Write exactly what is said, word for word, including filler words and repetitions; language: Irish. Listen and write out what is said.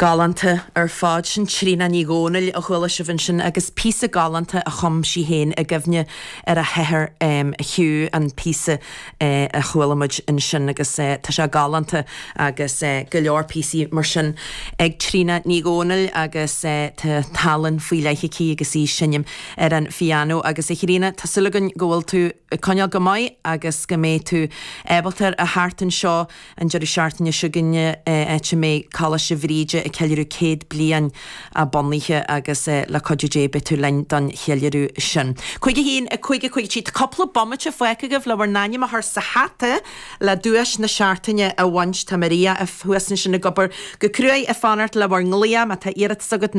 Galánta ar fad sin Tríona Ní Dhomhnaill a chuala sibh ansin agus píosa galánta a chum sí féin i gcuimhne ar a hathair um, Hugh an píosa uh, a chuala muid ansin agus uh, tá sé galánta agus uh, go leor píosaí mar sin ag Tríona Ní Dhomhnaill agus uh, tá tallann faoi leith aici agus í ag seinm ar an phianó agus a Thríona tá súil againn go bhfuil tú coinneáil go maith agus go mbeidh tú ábalta a theacht anseo an deireadh seachtaine seo chugainne áit a mbeidh Coláiste Bhríde ag ceiliúradh céad bliain a bunaithe agus le cuidiú Dé beidh tú linn don cheiliúradh sin. Cúig a haon a cúig a cúig trí cúpla bomaite fágtha agaibh le bhur n-ainm a chur sa hata le duais na seachtaine a bhaint tá Maria thuas ansin ag obair go cruaidh ag fanacht le bhur nglaoch má tá iarratas agat